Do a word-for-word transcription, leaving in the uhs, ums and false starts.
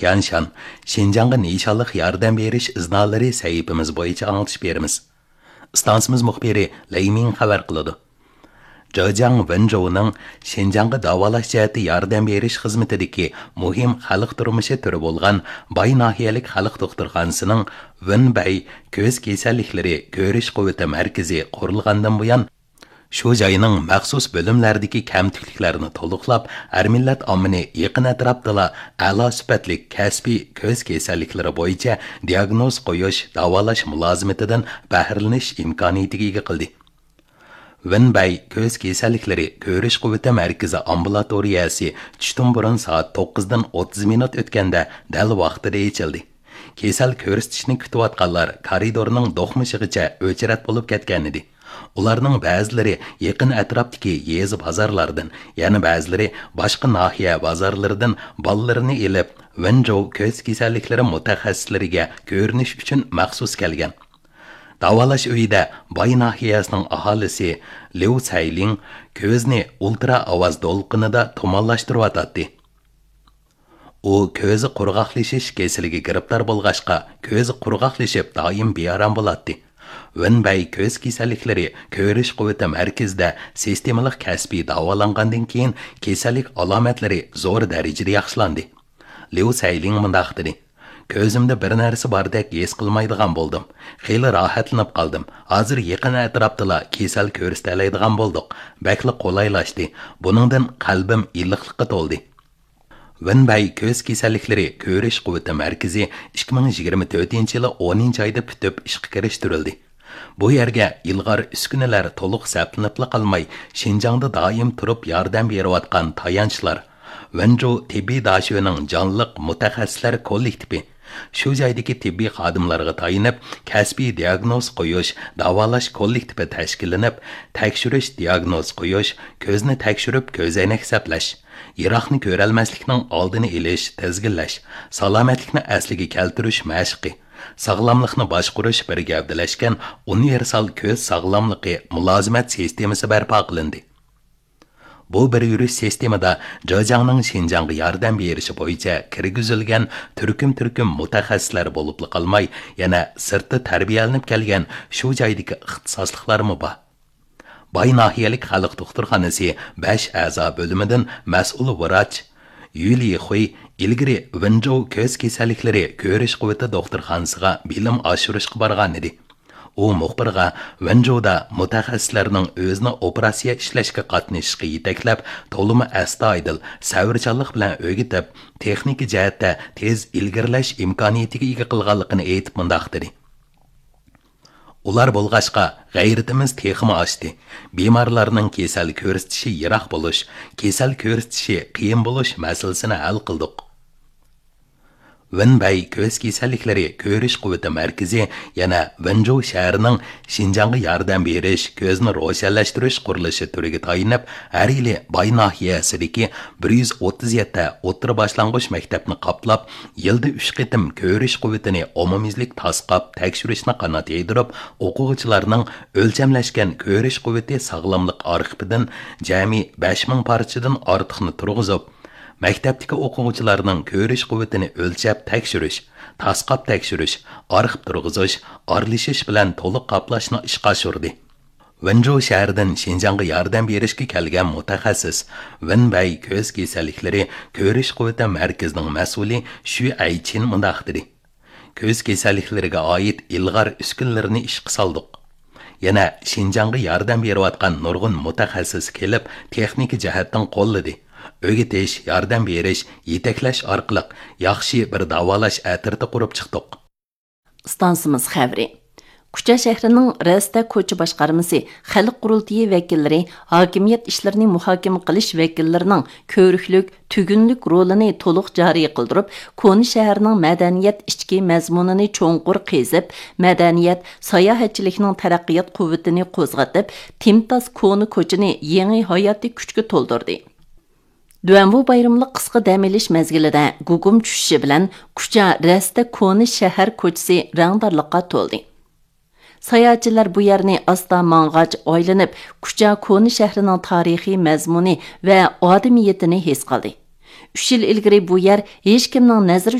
يانشان، شىنجاڭغا نىشانلىق ياردەم بېرىش ئىزنالىرى سەھىپىمىز بويىچە ئاڭلىتىش بېرىمىز. ئىستانسىمىز مۇخبىرى لەي مىڭ خەۋەر قىلىدۇ. جېجياڭ ۋېنجوۋنىڭ شىنجاڭغا داۋالاش جەھەتتە ياردەم بېرىش خىزمىتىدىكى مۇھىم خەلق تۇرمۇشى تۈرى بولغان باي ناھىيەلىك خەلق دوختۇرخانىسىنىڭ ۋېنبەي كۆز كېسەللىكلىرى كۆرۈش قۇۋۋىتى مەركىزى قۇرۇلغاندىن بۇيان، شۇ جاينىڭ مەخسۇس بۆلۈملەردىكى كەمتۈكلۈكلەرنى تولۇقلاپ، ھەر مىللەت ئاممىنى يېقىن ئەتراپتىلا ئەلا سۈپەتلىك كەسپىي كۆز كېسەللىكلىرى بويىچە دىياگنوز قويۇش، داۋالاش مۇلازىمىتىدىن بەھرىلىنىش ئىمكانىيىتىگە ئىگە قىلدى. ۋېنبەي كۆز كېسەللىكلىرى كۆرۈش قۇۋۋىتى مەركىزى ئامبۇلاتورىيەسى چۈشتىن بۇرۇن سائەت توققۇزدىن ئوتتۇز مىنۇت ئۆتكەندە دەل ۋاقتىدا ئېچىلدى. كېسەل كۆرسىتىشنى كۈتۈۋاتقانلار كارىدورنىڭ دوقمۇشىغىچە ئۆچرەت بولۇپ كەتكەنىدى. ئۇلارنىڭ بەزىلىرى يېقىن ئەتراپتىكى يېزا بازارلاردىن، يەنە بەزىلىرى باشقا ناھىيە بازارلىرىدىن بالىلىرىنى ئېلىپ، ۋېنجوۋ كۆز كېسەللىكلىرى مۇتەخەسسىسلىرىگە كۆرۈنۈش ئۈچۈن مەخسۇس كەلگەن. داۋالاش ئۆيىدە باي ناھىيەسىنىڭ ئاھالىسى ليۇ سەيلىڭ كۆزىنى ئۇلترا ئاۋاز دولقۇنىدا تۇمانلاشتۇرۇۋاتاتتى. ئۇ كۆزى قۇرغاقلىشىش كېسىلىگە گىرىپتار بولغاچقا، كۆزى قۇرغاقلىشىپ دائىم بىئارام بولاتتى. ۋېنبەي كۆز كېسەللىكلىرى كۆرۈش قۇۋۋىتى مەركىزىدە سىستېمىلىق كەسپىي داۋالانغاندىن كېيىن، كېسەللىك ئالامەتلىرى زور دەرىجىدە ياخشىلاندى. ليۇ سەيلىڭ مۇنداق دېدى: «كۆزۈمدە بىر نەرسە باردەك ھېس قىلمايدىغان بولدۇم. خېلى راھەتلىنىپ قالدىم. ھازىر يېقىن ئەتراپتىلا كېسەل كۆرسىتەلەيدىغان بولدۇق. بەكلا قولايلاشتى. بۇنىڭدىن قەلبىم ئىللىقلىققا تولدى.» ۋېنبەي كۆز كېسەللىكلىرى كۆرۈش قۇۋۋىتى مەركىزى ئىككى مىڭ يىگىرمە تۆتىنچى يىلى ئونىنچى ئايدا پۈتۈپ ئىشقا كىرىشتۈرۈلدى. بۇ يەرگە ئىلغار ئۈسكۈنىلەر تولۇق سەپلىنىپلا قالماي، شىنجاڭدا دائىم تۇرۇپ ياردەم بېرىۋاتقان تايانچلار، ۋېنجۇ تېببىي داشۆنىڭ جانلىق مۇتەخەسسىسلەر كوللېكتىپى، شۇ جايدىكى تېببىي خادىملارغا تايىنىپ، كەسپىي دىياگنوز قويۇش، داۋالاش كوللېكتىپى تەشكىللىنىپ، تەكشۈرۈش، دىياگنوز قويۇش، كۆزنى تەكشۈرۈپ كۆزەينەك سەپلەش، يىراقنى كۆرەلمەسلىكنىڭ ئالدىنى ئېلىش، تىزگىنلەش، سالامەتلىكنى ئەسلىگە كەلتۈرۈش مەشقى، ساغلاملىقنى باشقۇرۇش بىر گەۋدىلەشكەن ئۇنىۋېرسال كۆز ساغلاملىقى مۇلازىمەت سىستېمىسى بەرپا قىلىندى. بۇ بىر يۈرۈش سىستېمىدا جېجياڭنىڭ شىنجاڭغا ياردەم بېرىشى بويىچە كىرگۈزۈلگەن تۈركۈم-تۈركۈم مۇتەخەسسىسلەر بولۇپلا قالماي، يەنە سىرتتا تەربىيەلىنىپ كەلگەن شۇ جايدىكى ئىختىساسلىقلارمۇ بار. باي ناھىيەلىك خەلق دوختۇرخانىسى بەش ئەزا بۆلۈمىدىن مەسئۇل ۋراچ يۈ لىخۇي ئىلگىرى ۋېنجوۋ كۆز كېسەللىكلىرى كۆرۈش قۇۋۋىتى دوختۇرخانىسىغا بىلىم ئاشۇرۇشقا بارغانىدى. ئۇ مۇخبىرغا ۋېنجۇدا مۇتەخەسسىسلەرنىڭ ئۆزىنى ئوپېراتسىيە ئىشلەشكە قاتنىشىشقا يېتەكلەپ، تولىمۇ ئەستايىدىل، سەۋرچانلىق بىلەن ئۆگىتىپ، تېخنىكا جەھەتتە تېز ئىلگىرىلەش ئىمكانىيىتىگە ئىگە قىلغانلىقىنى ئېيتىپ مۇنداق دېدى: «ئۇلار بولغاچقا، غەيرىتىمىز تېخىمۇ ئاشتى. بىمارلارنىڭ كېسەل كۆرسىتىشى يىراق بولۇش، كېسەل كۆرسىتىشى قىيىن بولۇش مەسىلىسىنى ھەل قىلدۇق.» ۋېنبەي كۆز كېسەللىكلىرى كۆرۈش قۇۋۋىتى مەركىزى يەنە ۋېنجۇ شەھىرىنىڭ شىنجاڭغا ياردەم بېرىش، كۆزنى روشەنلەشتۈرۈش قۇرۇلۇشى تۈرىگە تايىنىپ، ھەر يىلى باي ناھىيەسىدىكى بىر يۈز ئوتتۇز يەتتە ئوتتۇرا باشلانغۇچ مەكتەپنى قاپلاپ، يىلدا ئۈچ قېتىم كۆرۈش قۇۋۋىتىنى ئومۇميۈزلۈك تاسقاپ تەكشۈرۈشنى قانات يايدۇرۇپ، ئوقۇغۇچىلارنىڭ ئۆلچەملەشكەن كۆرۈش قۇۋۋىتى ساغلاملىق ئارخىپىدىن جەمئىي بەش مىڭ پارچىدىن ئارتۇقنى تۇرغۇزۇپ، مەكتەپتىكى ئوقۇغۇچىلارنىڭ كۆرۈش قۇۋۋىتىنى ئۆلچەپ تەكشۈرۈش، تاسقاپ تەكشۈرۈش، ئارخىپ تۇرغۇزۇش، ئارىلىشىش بىلەن تولۇق قاپلاشنى ئىشقا ئاشۇردى. ۋېنجۇ شەھىرىدىن شىنجاڭغا ياردەم بېرىشكە كەلگەن مۇتەخەسسىس، ۋېنبەي كۆز كېسەللىكلىرى كۆرۈش قۇۋۋىتى مەركىزىنىڭ مەسئۇلى شۈ ئەيچىن مۇنداق دېدى: «كۆز كېسەللىكلىرىگە ئائىت ئىلغار ئۈسكۈنىلەرنى ئىشقا سالدۇق. يەنە شىنجاڭغا ياردەم بېرىۋاتقان نۇرغۇن مۇتەخەسسىس كېلىپ، تېخنىكا جەھەتتىن قوللىدى. ئۆگىتىش، ياردەم بېرىش، يېتەكلەش ئارقىلىق ياخشى بىر داۋالاش ئەترىتى قۇرۇپ چىقتۇق.» ئىستانسىمىز خەۋىرى. كۇچا شەھىرىنىڭ رەستە كوچا باشقارمىسى، خەلق قۇرۇلتىيى ۋەكىللىرى، ھاكىمىيەت ئىشلىرىنى مۇھاكىمە قىلىش ۋەكىللىرىنىڭ كۆرۈكلۈك، تۈگۈنلۈك رولىنى تولۇق جارى قىلدۇرۇپ، كونا شەھەرنىڭ مەدەنىيەت ئىچكى مەزمۇنىنى چوڭقۇر قېزىپ، مەدەنىيەت، ساياھەتچىلىكنىڭ تەرەققىيات قۇۋۋىتىنى قوزغىتىپ، تىمتاس كونا كوچىنى يېڭى ھاياتىي كۈچكە تولدۇردى. دۇەنۋۇ بايرىملىق قىسقا دەم ئېلىش مەزگىلىدە گۇگۇم چۈشۈشى بىلەن كۇچا رەستە كونا شەھەر كوچىسى رەڭدارلىققا تولدى. ساياھەتچىلەر بۇ يەرنى ئاستا ماڭغاچ ئايلىنىپ، كۇچا كونا شەھىرىنىڭ تارىخىي مەزمۇنى ۋە ئادىمىيىتىنى ھېس قىلدى. ئۈچ يىل ئىلگىرى بۇ يەر ھېچكىمنىڭ نەزىرى